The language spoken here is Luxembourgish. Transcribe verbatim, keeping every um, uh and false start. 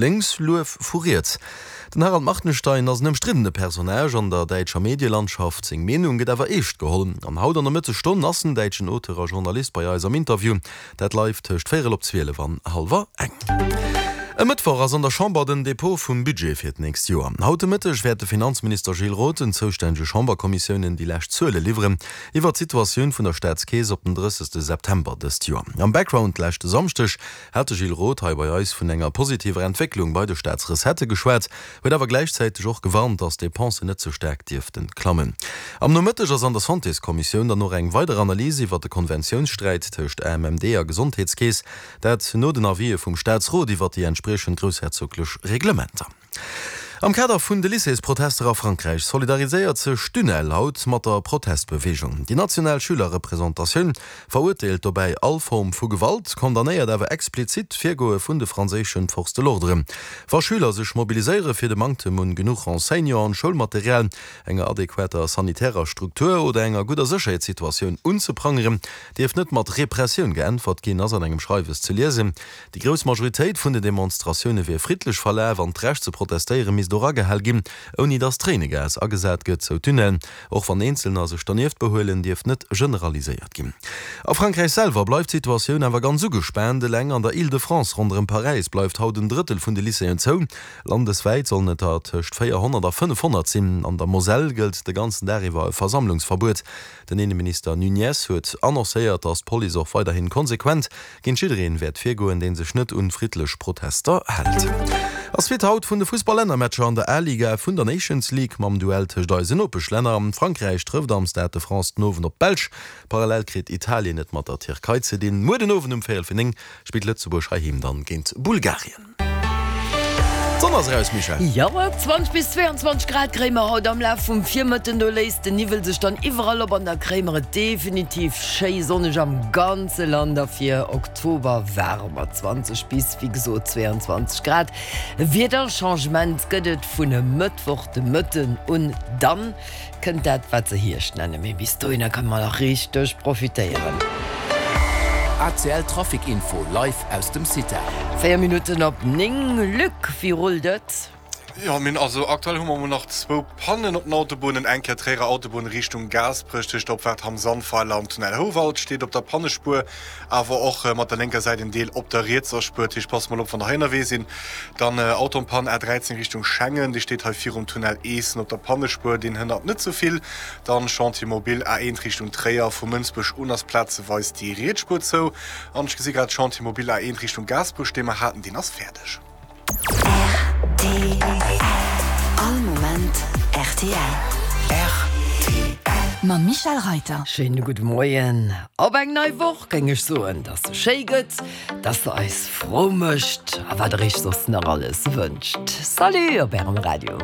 Lénks, Luef vu riets. Den Harald Martenstein ass en ëmstriddene Personnage an der däitscher Medielandschaft. Seng Meenung gëtt awer eescht geholl. An haut an der Mëttesstonn ass den däitschen Auteur a Journalist bei eis am Interview. Dat live tëscht véierel op zwielef an hallwer eng. E Mëttwoch ass an der Chamber den Depot vum Budget fir d'nächst Joer. Haut de Mëtteg wäert de Finanzminister Gilles Roth den zoustännege Chamberkommissiounen déi lescht Zuele liwweren iwwer d'Situatioun vun der Staatskeess op den drëssegste September dëst Joer. Am Background leschte Samschdeg hat de Gilles Roth hei bei eis vun enger positiver Entwécklung bei de Staatsrecettë geschwat, huet awer gläichzäiteg och gewarnt, datt d'Depensen net ze staark dierften klammen. Am Nomëtteg ass an der Santéskommissioun dann och eng weider Analys iwwer de Konventiounssträit tëscht A M M D a Gesondheetskeess, dat no den Avisë vum Staatsrot iwwer déi entspriechend groussherzoglech Reglementer. Am Kader vun de Lycéesprotester a Frankräich solidariséiert sech d'UNEL haut mat der Protestbeweegung. Déi national Schülerrepresentatioun verurteelt dobäi all Form vu Gewalt, condamnéiert awer explizit d'Virgoe vun de franséische Forces de l'ordre. Wa Schüler sech mobiliséiere fir de Manktem un genuch Enseignanten, Schoulmaterial, enger adequater sanitärer Struktur oder enger gudder Sécherheetssituatioun unzeprangeren, dierf net mat Repressioun geäntwert ginn, ass an engem Schreiwes ze liesen. Déi grouss Majoritéit vun den Demonstratioune wier friddlech verlaf an d'Recht ze protestéiere misst och agehal ginn, ouni datt Tréinegas agesat gëtt, sou d'UNEL. Och wann Eenzelner sech dernieft behuelen, dierf net generaliséiert ginn. A Frankräich selwer bleift d'Situatioun awer ganz ugespaant. Eleng an der Île-de-France ronderëm Paräis bleift haut en Drëttel vun de Lycéeën zou. Landeswäit sollen et der tëscht véierhonnert a fënnefhonnert sinn. An der Moselle gëllt de ganzen Dag iwwer e Versammlungsverbuet. Den Inneminister Nunez huet annoncéiert, datt d'Police och weiderhin konsequent géint jiddereen wäert virgoen, dee sech net un friddlech Protester hält. A Suite haut vun de Fussball-Lännermatcher an der A-Liga vun der Nations League mam Duell tëscht eisen Nopeschlänner. Frankräich trëfft am Stade de France den Owend op d'Belsch. Parallel kritt Italien et mat der Tierkei ze dinn. Muer den Owend um véierel vir néng spillt Lëtzebuerg heiheem dann géint Bulgarien. D'Sonn ass eraus, Michèle. Jo, zwanzeg bis zwéianzwanzeg Grad kréie mer haut am Laf vum Virmëtten. Do léist den Niwwel sech dann iwwerall op an da kréie mer et definitiv schéi sonneg am ganze Land a fir Oktober waarm mat zwanzeg bis, wéi gesot, zwéianzwanzeg Grad. Wiederchangement gëtt et vun e Mëttwoch de Mëtten un. Dann kënnt dat, wat se Hierscht nennen, mee bis dohinner kënne mer nach richteg profitéieren. A C L Trafic Info live aus dem Cita. Véier Minutten op néng. Luc, wéi rullt et? Jo, mir hunn also aktuell hu mer emol nach zwou Pannen op den Autobunnen. Eng Kéier Tréierer Autobunn Richtung Gaasperech tëscht der Opfaart Hamm-Sandweiler an Tunnel Houwald steet op der Pannespuer, awer och mat der lénker Säit en Deel op der rietser Spuer. Dat heescht, passt mol op, wann der hei ënnerwee sinn. Dann Auto en panne A dräizéng Richtung Schengen, dee steet hei virum Tunnel Eessen op der Pannespuer, deen hënnert net sou vill. Dann Chantier mobile A eent Richtung Tréier, vu Mënsbech un ass plazeweis déi riets Spuer zou. An ech gesi grad, Chantier mobile A eent Richtung Gaasperech, dee mer haten, deen ass fäerdeg. R T L. All Moment R T L. R T L. Mam Michèle Reiter. Schéine gudde Moien op eng nei Woch, géing ech soen, dass se schéi gëtt, dass se eis frou mécht a wat der iech soss nach alles wënscht. Salut op ärem Radio.